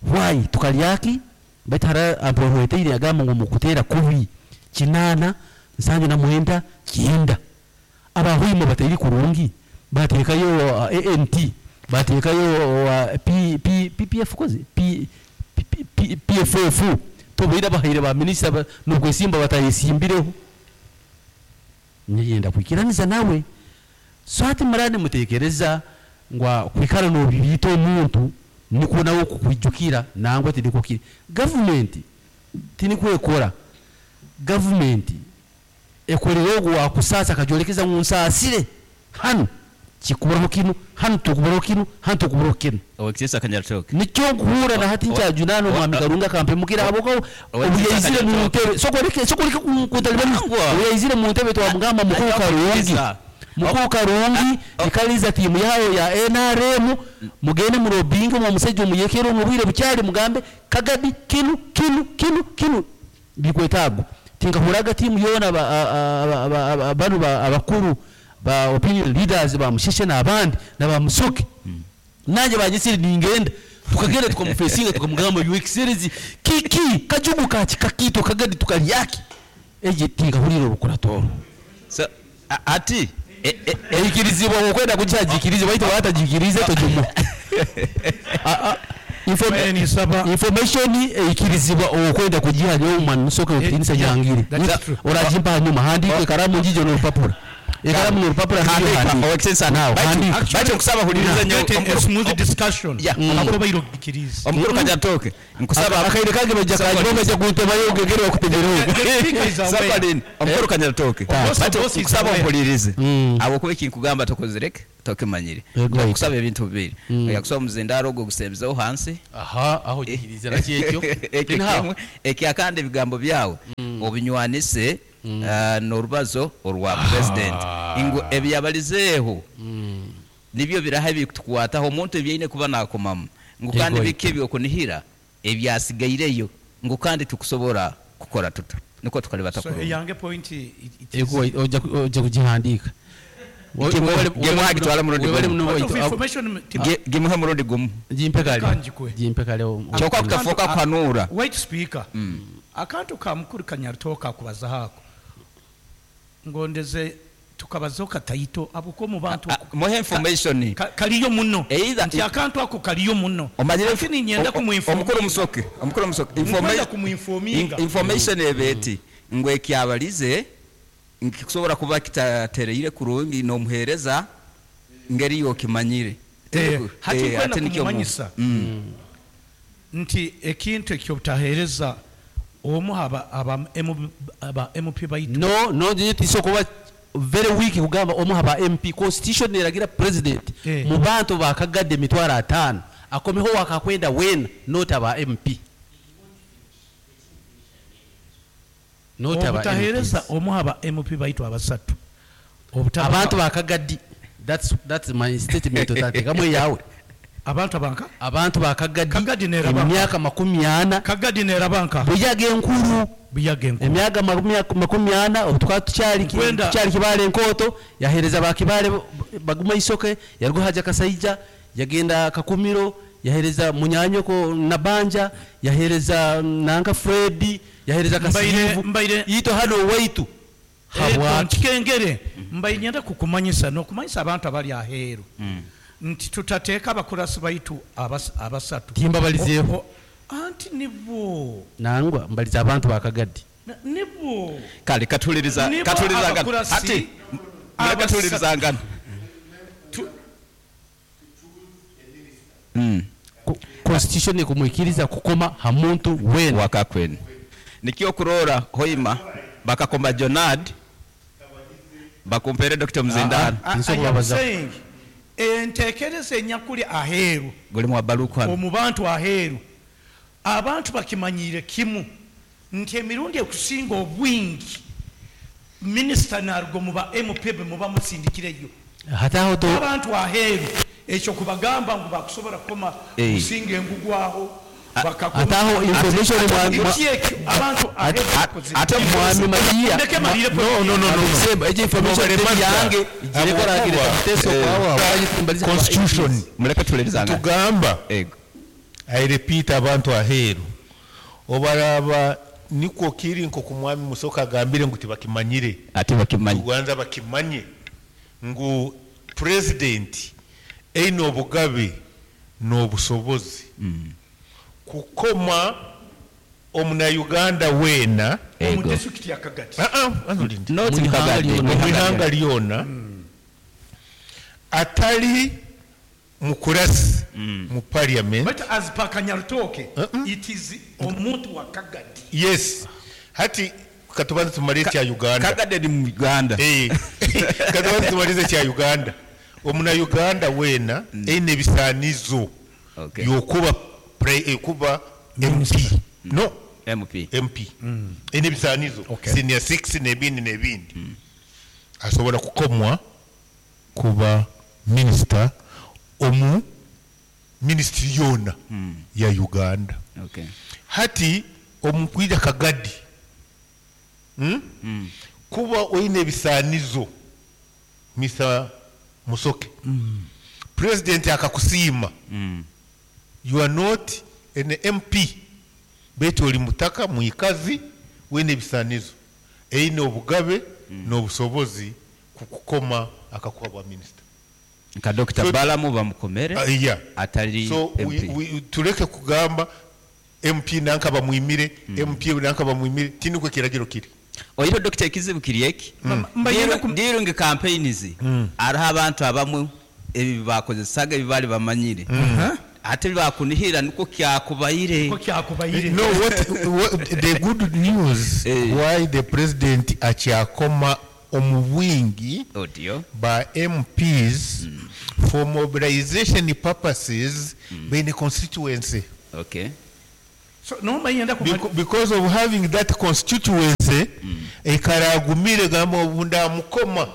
Why tukalyaki batara aporwete yagamba ngo mukutera kubi kinana nsange na muhenda kinda abahwimo bateri kurungi batekayo uh, A N T batekayo uh, P, P, P P F koze P, P, P, P F F tubira bahire ba minister nubwo simba batayisimbireho nyenda kwikiraniza nawe so ati murane mutekereza ngwa kwikara no bibito omuntu niko nawo kukwijukira nangwa tidiko kiri government tinikwekora government ekorera ogwo wakusasa akajolekeza mu nsasire hano kikuburaho kino hano tukuburaho kino hano tukuburaho kino Owekisesa Kanyaritoke nicyo nkuhura na hati ncyajunano mwami Karunga kampemukira aboko obuyaizire mu ntebe sokoleke sokoleke kuntalibani obuyaizire mu ntebe twamugamba mukuru Karungi mukuru Karungi ikaliza timu yayo ya N R M mugende mu lobbying mu musajja omuyekero mubwire bucyali mugambe Kagadi kinu kinu kinu kinu bikwetago tinkahuraga timu yona banu abakuru ba opinion leaders ba musheshe n'abandi na musoke mm. Nanje banyisiri ningenda tukagenda tukamufesinga tukamugamba you excellency kiki kajugu kachi kakito Kagadi tukalyaki eje tinkahurira orukuratoro so ati eikirizibwa okwenda kukyagikirize baita batajikirize tojumu information eikirizibwa okwenda kugiha nyo omwana musoke okirinisa yangire orajimpa hanyuma handike karamu njijo n'orupapura Ekaramu n'orupapura nibyo handiika. Owekitinisa, baitu nkusaba huliriza nyo Get a omukuru- smooth discussion. Yeah. Nabwo baire okugikiriza. Omukuru Kanyarutooke, nkusaba Akaire kange bajja kajiba bajja kuntebayo ogegere bakutemereho. The speaker is aware. Sabalin, omukuru Kanyarutooke, Boss- baitu boss is nkusaba aware. ompulirize Mm. habwokuba ekinkugamba tokozireke tokimanyire. Yego. Nkusaba ebintu bibiri, oyakusaba omuzindaaro ogwo ogusembezeho hansi. Aha, aho gikiriza nakyekyo. Ekyo kimwe. Ekyakandi, ebigambo byawe obinywanise ah, n'orubazo orwa president ngu ebyabalizeeho nibyo biraha ebikutukwataho omuntu ebyaine kuba nakomamu ngu kandi Yego. biki ebyokunihira ebyasigaireyo ngu kandi tukusobora kukora tuta niko tukalibata So kurungi. eyange point i- it is Ego ojja ku- ojja kugihandiika. Gimuhe- gimuhe agitwale murundi Webale gumu. muno Point of waitu. information ti- Gi- gimuhe murundi gumu. Gimpe kale. Kanjikwe. Gimpe kale. o- Kyokka kutafuuka kuhanuura. White speaker, akantu ka mukuru Kanyarutooke akubazaho ako ngondeze tukabazaho kataito abuko mu bantu Ah, muhe information. Ka- kaliyo muno Either- nti akantu ako kaliyo muno, Omanyire lakini nyenda o- o- kumuinforminga. Omukuru Musoke, omukuru Musoke, Nkwenda informa- kumuinforminga. in- information eba eti ngu ekyabalize nkikusobora kuba kitatereire kurungi nomuheereza ngeri yokimanyire. Eh, hati Eh, nkwenda ate nikyo mu- kumumanyisa Mm. nti ekintu ekyobutaheereza omu aba aba M- aba M P baitu. No, no, nje tiso kuba very weak kugamba omu haba M P. Constitution eragira president Eh. mu bantu bakagadde emitwalo ataano akomeho wakakwenda wena, not aba M P, not aba Obutaheereza M Ps. omu aba M P baitu abasatu. Obutaba- Abantu bakagaddi, that's that's my statement, otateekamu eyawe. Abantu abanka Abantu bakagaddi Kagadi neraba. Emyaka makumi ana. Kagadi nerabanka. Buyaga enkulu. Buyaga enkulu. Emyaka makumi- makumi ana obu tukaba tukyali Nkwenda- tukyali Kibaale enkooto, yaheereza bakibale baguma isoke, yaruga haja Kasaija yagenda Kakumiro, yaheereza munyanyoko Nabanja, yaheereza nanka Fredi, yaheereza Mbaire- Kasiivu mbaire- ito hano waitu habwaki? Nkikengere mbaire nyenda kukumanyisa n'okumanyisa abantu abali aheeru nti tutateeka abakurasi baitu abas- abasatu. Timbabalizeeho. O- o- anti nibo Nangwa mbaliza abantu bakagaddi. Na- nibo Kale katuliriza Nibo katulirizangana. abakurasi Ati mureke abasatu. tulirizangana. Tu- Mm. Ko- constitution ekumwikiriza kukoma ha muntu wena. Wakakwene nikyo kurora hoima bakakoma Jonad bakumpere Doctor Muzindaro. I- I Nsobola am kubabaza. saying, enteekereza enyakuli aheeru Guli mu baluku hano. omu bantu aheeru abantu bakimanyiire kimu nti emirundi ekusinga obwingi minisita naruga mu ba M P be muba musindikireyo. Hati aho to Abantu aheeru ekyo kubagamba ngu bakusobola kukoma Eh. kusinga engugwaho. Ate aho information mwa- mwa- Eki ekyo abantu aheeru bakoze. Ate mwami Maria. Ndeke malire. No, no, no, no. Semba, ekyo information Nobare teri yange Mazda. girekoragira Ahabwokuba, miteso eh, kwawa mbaliza constitution Muleke tulirizangana. Tugamba, Ego. I repeat, abantu aheeru obaraba nikwo kiri nko kumwami Musoka agambire ngu tibakimanyire. Ate bakimanyi. Tubanza bakimanye ngu president eine obugabe n'obusobozi kukoma omunauganda weena. Omu Ego. disitulikiti ya Kagati. Ah, ah, anulinde. Not Mu ihanga Kagadi. lyona. Mu ihanga lyona atali mukurasi mu parliament. But as per Kanyarutooke, Uh-uh. it is omuntu wa Kagadi. Yes, hati katubanze tumale ekya Uganda. Kagadi ni mu Uganda. Eh, katubanze tumalize ekya Uganda. Omunauganda weena eine ebisaanizo Okay. yokuba pre- eh, kuba M P, no. M P. M P eine ebisaanizo, Okay. senior six n'ebindi n'ebindi, asobola kukomwa kuba minisita omu minisitiri yona ya Uganda. Okay. Hati omukwija Kagadi, hmm? Kuba oine ebisaanizo, Mister Musoke, president akakusiima, you are not an M P betu oli mutaka mwikazi wine ebisaanizo, eine obugabe n'obusobozi kukukoma akakuha bwa minisita. Nka Doctor So- Balamu bamukomere Uh, yeah. atali So we, M P. we, tuleke kugamba M P nanka bamwimire, M P nanka bamwimire, tinikwe kiragiro kiri. Oiro Dokita, ekizibu kiri eki. Mbayenda ku- During campaigns hariho abantu abamwe ebi bakozesaga ebi bali bamanyire, ate bakunihira niko kyakubaire. Ko kyakubaire. No, what, what the good news, Eh. why the president akyakoma omu bwingi Otyo. ba M Ps for mobilization purposes beine constituency. Okay. So nombayenda ku Beco- because of having that constituency, ekaragumire gamba obu ndamukoma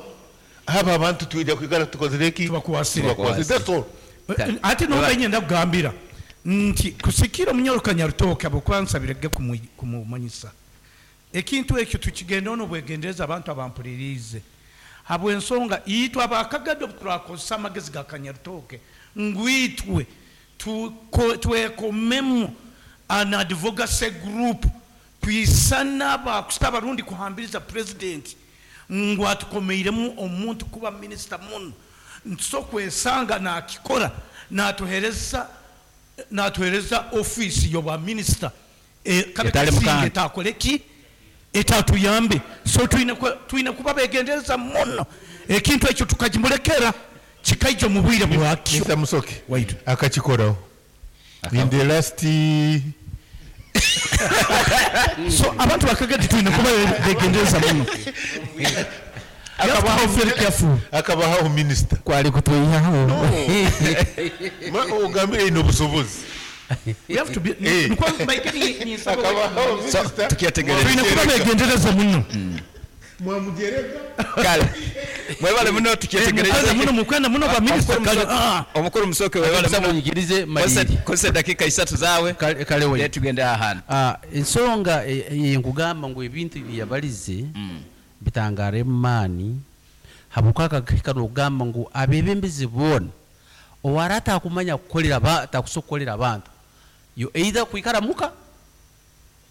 aba abantu twija kwikara tukozire ki? Tubakwasire. Tubakwasire. That's all. Ate nombayenda kugambira nti kusikira omunyoro Kanyarutoke abokwansabirege kumumanyisa ekintu ekyo, tukigendeho nobwegendereza. Abantu abampuliriize, habwensonga itwe abakagadde turakozesa amagezi ga Kanyarutoke ngu itwe tuko- twekomemu an advocacy group, twisana abakusita abarundi kuhambiriza president ngu atukomeiremu omuntu kuba minisita muno. Nso kwesanga nakikora, natuhereza natuhereza ofiisi yoba minisita kabe Etali kasinga mukanda. etakole ki, etatuyambe. So twine ku- twine kuba begendereza muno, ekintu ekyo tukagimulekera kikaija mu bwire bwakyo. Mister Musoke Wait. akakikoraho in the last So abantu bakagadi twine kuba begendereza muno. You have to be very careful. Akabahaho minisita. Kwali kutwihaho. Ma- ogambire ine obusobozi. We have to be Eh. nikuwa mbaike ni- ni nsaba- Akabahaho So minisita. tukyetegereza. Twine kuba begendereza muno. Mwamugereka. Kale, mwebale muno, tukyetegereza. Mukwenda muno, mukwenda muno ba minisita kale, ah. Omukuru Musoke, webale muno. Munyikirize maliri. Kozesa dakika isatu zaawe. Kale kale we. Then tugende ahantu. Ah, ensonga e- e- nkugamba ngu ebintu byeyabalize bitangara emaani, habwokakahika nokugamba ngu abebembezi boona owara atakumanya kukolera ba- atakusobola kukolera abantu, yo either kwikara muka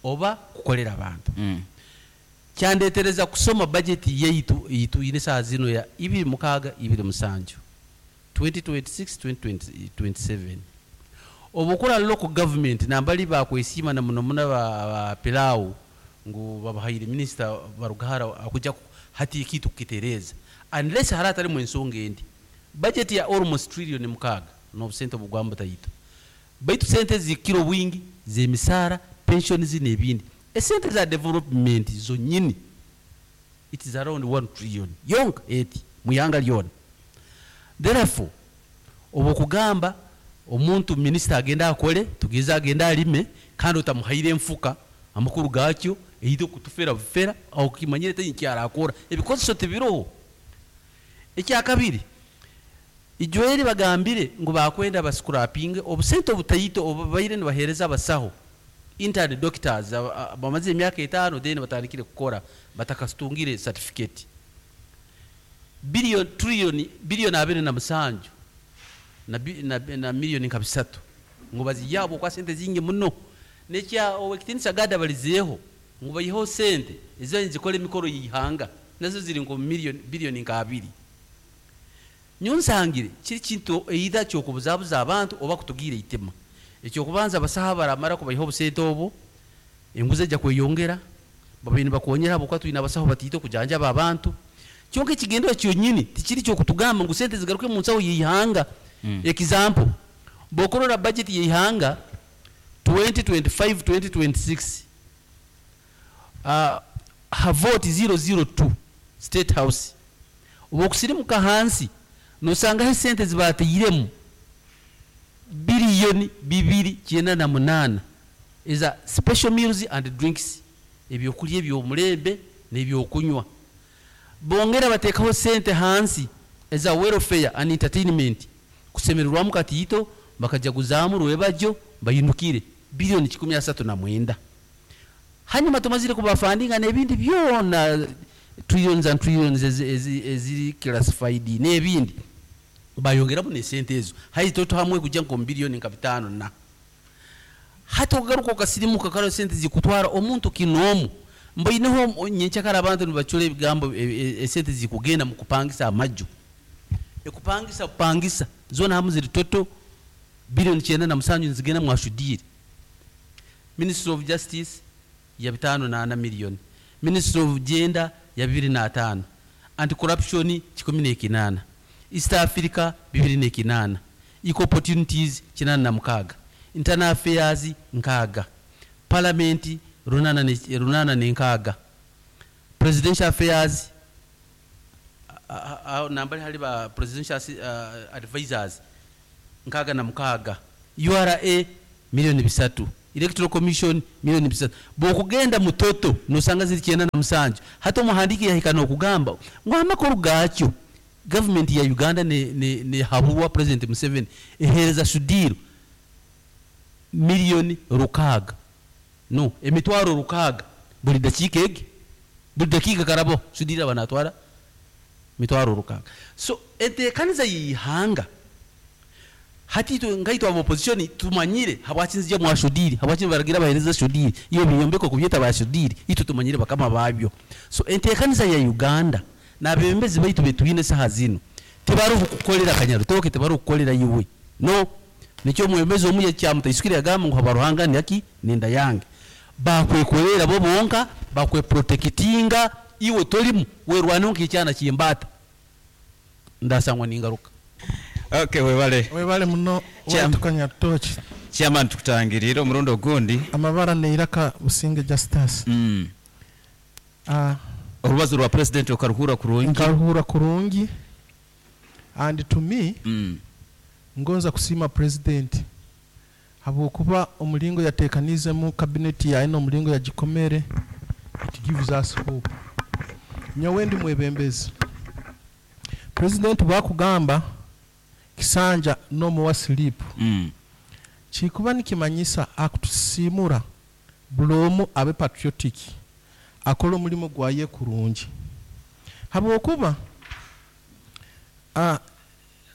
oba kukolera abantu. Kyandetereza kusoma budget yaitu ituyine saa zino ya ibiri mukaaga ibiri musanju, twenty twenty-six twenty twenty-seven. Oba okora local government nambali bakwesiima na muno muno ba, ba pilau ngu babahaire minisita barugahara akuja ku- hati ekitu kukitereeza, unless hari atarimu ensonga endi. Budget ya almost trillion mukaaga n'obusente obugwamba taito, baitu sente zikira obwingi z'emisaara, pensions n'ebindi. Esente za development zonyini, it is around one trillion yonka eti muyanga lyona. Therefore oba okugamba omuntu minisita agenda akole, tugeze agenda alime kandi otamuhaire enfuka, amakuru gakyo eite okutufera bufera aho kimanyire tenyi kyarakora, ebikozeso tibiroho. Ekyakabiri, ijweri bagambire ngu bakwenda bascrapinge obusente obutaito obubaire nibahereza abasaho, intern doctors aba- aba- bamaze emyaka etaano then batandikire kukora batakasitungire certificate, billion trillion billion abiri na musanju na, bi- na, na miliyoni nka bisatu ngu baziyabo kwa sente zingi muno. Nekya owekitinisa gada balizeeho ngu bayiheho sente ezo nzikora emikoro yihanga, nazo ziri nko miliyoni biliyoni nka abiri. Nyonsangire kiri kintu either kyokubuzabuza abantu oba kutugira eitima. Ekyokubanza, abasaha baramara kubayiha obusente obwo, enguzi ejja kweyongera, babaire nibakonyera habwokuba twine abasaho batiite okujanjaba abantu. Kyonka ekigendero kyonyini tikiri kyokutugamba ngu sente zigaruke mu nsaho yeihanga. Example, bwokurora budget yeihanga twenty twenty-five twenty twenty-six, uh, havoti zero zero two State House, oba okusirimuka hansi nosangaho esente zibateiremu biliyoni bibiri kyenda na munaana eza special meals and drinks, ebyokulya ebyomulembe n'ebyokunywa. Bongera bateekaho sente hansi eza welfare and entertainment, kusemererwamu katiito bakajaguzaamu rwebajyo bayinukire, biliyoni kikumi asatu na mwenda. Hanyuma tumazire kubafandinga n'ebindi byona, trillions and trillions ezi- ezi- eziri classified n'ebindi, bayongeramu nesente ezo hayi toto hamwe kujja nko biliyoni nka bitano. Na hati okugaruka okasirimuka karo sente zikutwara omuntu kinoomu mboineho nyenkyakara abantu nibacura ebigambo e- e- esente zikugenda mu kupangisa amaju, ekupangisa kupangisa zona hamu ziri toto biliyoni kyenda na musanju nizigenda mwashudire. Ministry of Justice ya bitano na ana miliyoni, Ministry of Gender ya bibiri n'ataano, Anti Corruption kikumi n'ekinaana, East Africa bibiri n'ekinaana, Equal Opportunities kinaana na mukaaga, Internal Affairs nkaaga, Parliament runaana ne- runaana n'enkaaga, Presidential Affairs a- a- a- nambari hali ba presidential assi- uh, advisors nkaaga na mukaaga, U R A milioni bisatu, Electoral Commission milioni bisatu. Bwokugenda mutoto nosanga ziri kyenda na musanju. Hati omuhandiki yahika nokugamba ngu amakuru gakyo gavumenti ya Uganda ne, ne, ne haburwa President Museveni ehereza Sudhir milioni rukaaga, no emitwaro rukaaga buli dakiika egi, buli dakiika karabo Sudhir aba natwara mitwaro rukaaga. So enteekaniza y'ihanga hati itwe ngaitwe aba opposition tumanyire habwaki nzija mwa Sudhir, habwaki baragira bahereza Sudhir iyo biyombeko kubyeta ba Sudhir, itwe tumanyire bakama babyo. So enteekaniza ya Uganda n'abebembezi baitu betwine saha zino tibari kukukolera Kanyarutoke, tibari kukukolera iwe, no nikyo omwebembezi omu yakyamutaisukire yagamba ngu habaruhanga naki nenda yange bakwekolera bo bonka, bakweprotectinga, iwe tolimu werwaneho nk'ekyana ky'embaata ndasangwa ningaruka. Okay, webale. Webale muno. Chairman. Waitu Kanyarutoki. Chairman, tukutangirire omurundi ogundi. Amabara neiraka Businge Justus. Mm. Ah, orubazo rwa president okaruhura kurungi? Nkaruhura kurungi, and to me Mm. ngonza kusiima president habwokuba omulingo yateekanizemu cabinet yaye n'omulingo yagikomere, it gives us hope. Nyowe ndi mwebembezi, president bwakugamba kisanja n'omuwa slip, Mm. kikuba nikimanyisa akutusiimura buli omu abe patriotic, akole omulimu gwaye kurungi, habwokuba ah,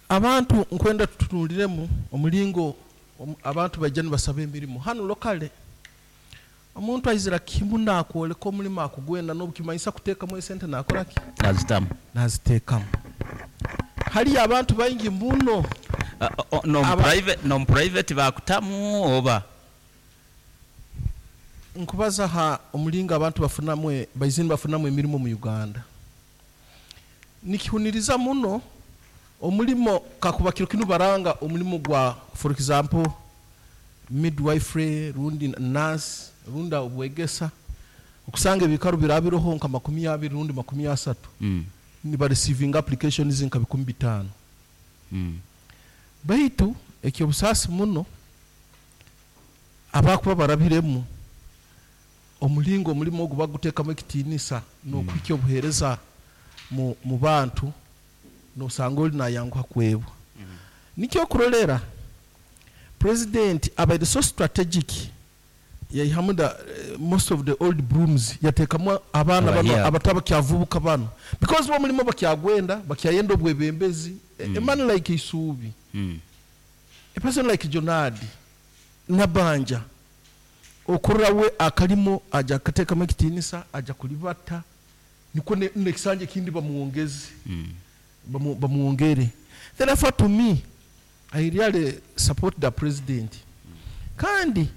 abantu nkwenda tutunuliremu omulingo omu- abantu bajja nibasaba emirimu hano locally. Omuntu aizira kimu nakwoleka omulimu akugwenda n'obukimanyisa kuteekamu esente nakoraki? Nazitamu. Naziteekamu. Haliyo abantu baingi muno. Uh, uh, no Aba- private no private bakutamu oba? Nkubaza ha omulingo abantu bafunamu, baizini bafunamu emirimu mu Uganda, nikihuniriza muno. Omulimo kakuba kiro kinu baranga omulimu gwa, for example, midwifery rundi nurse rundi obwegesa, okusanga ebikaru birabiroho nka makumi abiri rundi makumi asatu, Mm. niba receiving applications nka bikumi bitaano. Mm. Baitu ekyobusaasi muno, abakuba barabiremu omulingo omulimu ogu baguteekamu ekitiinisa n'okuhikya obuheereza mu, mu bantu, nosanga oli nayanguha kwebwa. Nikyo okurolera president abaire so strategic, yaihamu the, eh, most of the old brooms, yateekamu abaana bano Abahiya. abatabakyavubuka bano, because bo omulimu bakyagwenda, bakyayenda obwebembezi. mm. A man like Isuubi, Mm. a person like Jonadi Nabanja, okurra we akalimo aja akateekamu ekitiinisa, aja kulibata niko ne- nekisanja ekindi bamuwongeze, Mm. bamu- bamuwongere. Therefore, to me, I really support the president. Kandi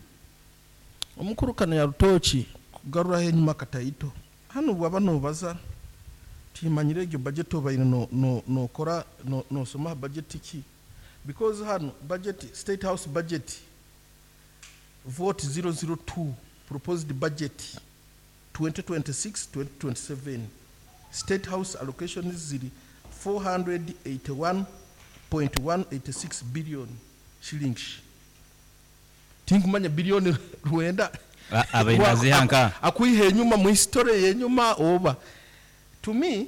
omukuru Kanyarutoki, kugaruraho enyuma kataito hano, bwaba nobaza timanyire egyo budget obaire no- no- nokora no- nosoma budget ki, because hano budget, State House budget vote zero zero two, proposed budget twenty twenty-six twenty twenty-seven, State House allocations ziri four hundred eighty-one point one eight six billion shillings. Tinkumanya biliyoni rwenda. A- abainazihanka. Akwiha enyuma mu history yenyuma oba to me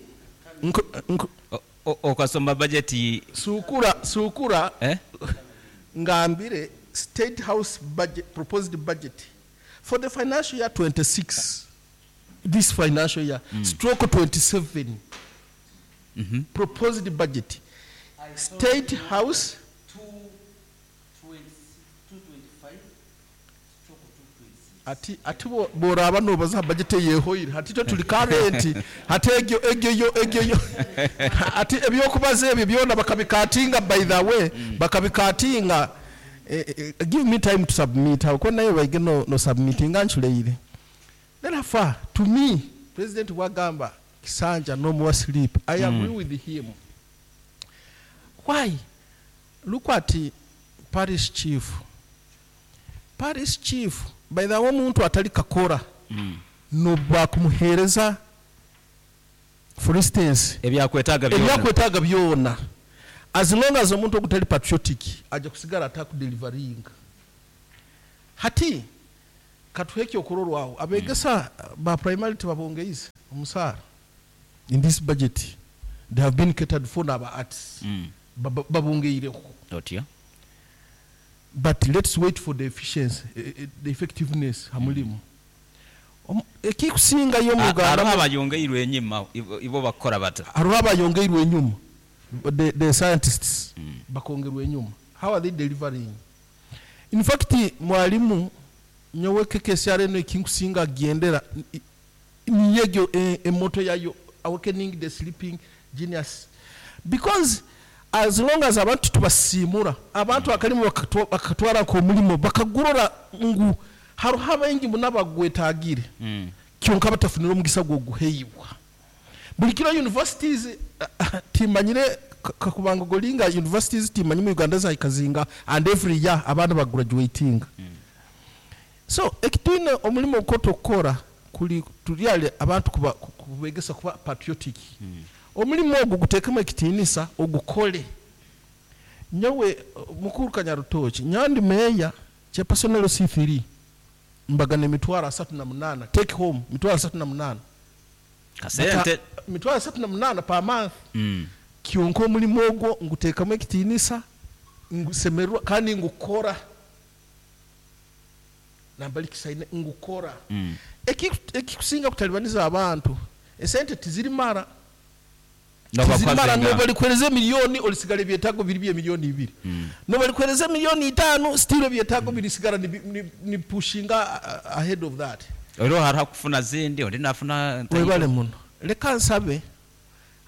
nku- nku- O- o- okasoma budget. Sukura sukura. Eh? Ngambire State House budget, proposed budget for the financial year twenty-six, this financial year, mm. stroke twenty-seven, mm -hmm. proposed budget, State House. Ati ati bo- boraba nobaza budget yehoire hati tyo tuli current, hati egyo egyo yo egyo yo ati ebyokubaza ebyo byona bakabikatinga. By the way, bakabikatinga. eh, eh, give me time to submit aho ko nayo baige no, no submittinga nchuleire. Therefore, to me, President bwagamba kisanja no more sleep, I agree with him. Why? Look at parish chief. Parish chief, by the way, omuntu atali kakora Mm. nobakumuhereza, for instance, ebyakwetaaga byona. Ebyakwetaaga byona, as long as omuntu ogutali patriotic ajja kusigala atakudelivaringa. Hati katuhe ekyokurorwaho, abegesa ba primary tebabongeize omusaara in this budget. They have been catered for, n'aba arts Mm. baba- babongeireho. Otyo. But let's wait for the efficiency, eh, eh, the effectiveness hamulimu. Omu- ekikusingayo mu A- Uganda, hariho abayongeirwe enyima ibo ibo bakora bata? Hariho abayongeirwe enyuma, the, the scientists bakongerwa enyuma. How are they delivering? In fact, mwalimu nyowe K K S R eno ekinkusinga agendera niyegyo emoto yayo, awakening the sleeping genius, because as long as abantu tubasiimura, abantu akalimu bakatwa- bakatwarako omulimo bakagurora ngu hariho abaingi muna bagwetagire, Mm. kyonka batafunire omugisa gwoguheibwa. Buli kiro universities, eh, timanyire ka- kakubanga golinga universities timanyi mu Uganda zaikazinga, and every year abaana bagraduating. So ekitwine omulimu ogwo kuli turyale abantu kuba- ku- kubegesa kuba patriotic. Omulimu ogwo guteekemu ekitiinisa, ogukole. Nyowe, eh, mukuru Kanyarutoki, nyandi meya chairperson L C three, mbagana emitwaro asatu na munaana take home, mitwaro asatu na munaana. Kasente. Bata- mitwaro asatu na munaana per month. Mm. Kyonka omulimu ogwo nguteekamu ekitiinisa, ngusemererwa kandi ngukora nambalikisaine ngukora. Mm. Eki- ekikusinga kutalibaniza abantu, esente tizirimara. Noba Tizirimara. kwazenga. Nobalikwereza emiliyoni, olisigala ebyetaago biri byemiliyoni ibiri. Nobalikwereza emiliyoni itaano, still ebyetaago birisigala nibi- ni- ni pushinga uh, ahead of that. Oliho hariho akufuna zindi, ondi nafuna. Webale muno. Leka nsabe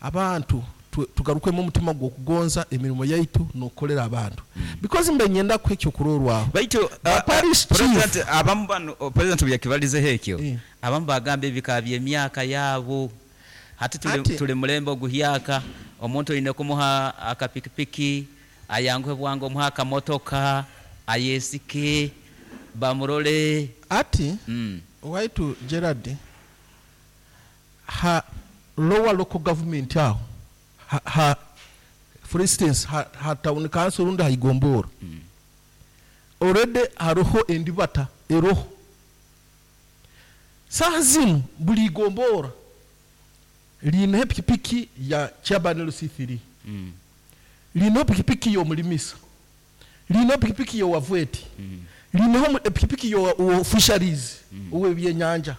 abantu tu- tugarukemu omutima gw'okugonza emirimu yaitu n'okukolera abantu, because mbe nyenda kuha ekyokurorwaho. Baitu Ba uh, parish uh, president, abamu bano, oh, president byakibalizeho ekyo, Eh. abamu bagamba ebika byemyaka yaabo. Hati tuli, Ati- tuli mulembe oguhyaka, omuntu oyine kumuha akapikipiki ayanguhe bwangu, omuha akamotoka ayesike bamurole. Ati mm. waitu Gerard, ha lower local government aho, ha, ha, for instance, ha, ha town council rundi haigombora, already hariho endibata eroho. Saha zinu buli igombora liineho epikipiki ya chairman L C three, Mm. liineho pikipiki y'omulimisa, liineho pikipiki y'owavweti, liineho mu- epikipiki y'owa fisheries, ow'ebyenyanja.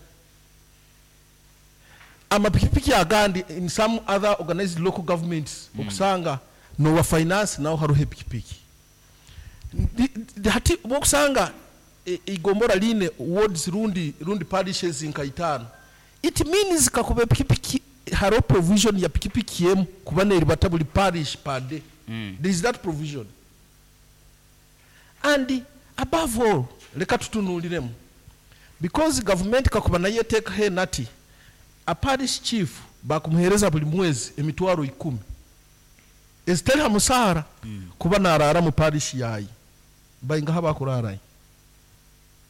Amapikipiki agandi in some other organized local governments, okusanga nowa finance naho hariho epikipiki. Ndi- ndi- hati bokusanga e- igombora line wards rundi rundi parishes nka itaano, it means kakuba epikipiki hariho provision ya pikipiki emu kuba neribata buli parish per day. Mm. There is that provision. And above all, leka tutunuuliremu, because government kakuba nayo eteekaho enati a parish chief bakumuheereza buli mwezi emitwaro ikumi ezitari ha musaara, kuba naraara mu parish yayi, baingaho abakuraarayo?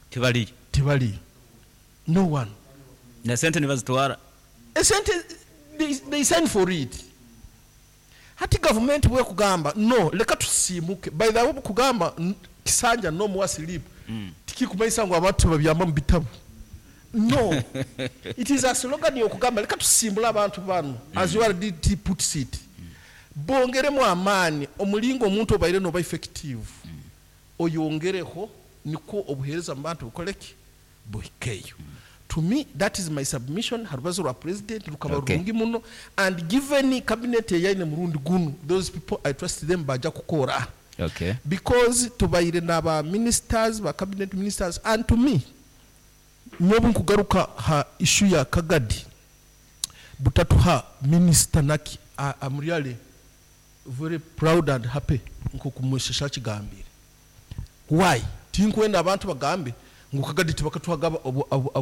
Tibaliyo. Tibaliyo, no one. Nesente nibazitwara. Esente they, they sign for it. Hati gavumenti bwekugamba no, leka tusiimuke. By the way, bukugamba n- kisanja no more sleep, Mm. tikikumaisa ngu abantu babyamba mu bitabo. No, it is a slogan yokugamba leka tusimbule abantu bano, as U R D T puts it, bongeremu amaani. Omulingo omuntu obaire noba effective, oyongereho nikwo obuheereza mu bantu bukoleki buhikeyo. To me, that is my submission. Harubazo rwa president rukaba Okay. rurungi muno, and given cabinet eyaine murundi gunu, those people I trust them, baja kukora, Okay. because tubaire n'aba ministers, ba cabinet ministers. And to me, nyobu nkugaruka ha issue ya Kagadi butatuha minister naki, I- I'm really very proud and happy nkokumweshesha kigambire. Why? Tinkwenda abantu bagambe ngu Kagadi tibakatuhaga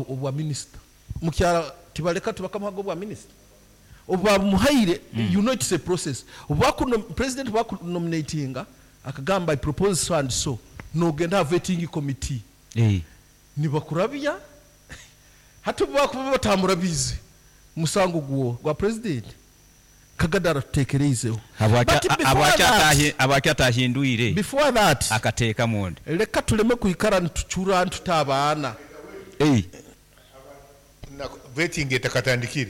obwa minister mukyara. Tibaleka tibakamuhaga obwa minisita obu bamuhaire. You know it's a process. Obu bakuno- president bakunominatinga akagamba, "I propose so and so," nogenda ha vetting committee, Eh. nibakurabya. Hati obu bakuba batamurabize, musango gwo gwa president Kagada aratutekereizeho. Habwaki- But before habwaki that- atahi- habwaki atahindwire before that, akateeka munda? Leka tuleme kwikara nitucura ntuta abaana. Eh. Vetting etakatandikire.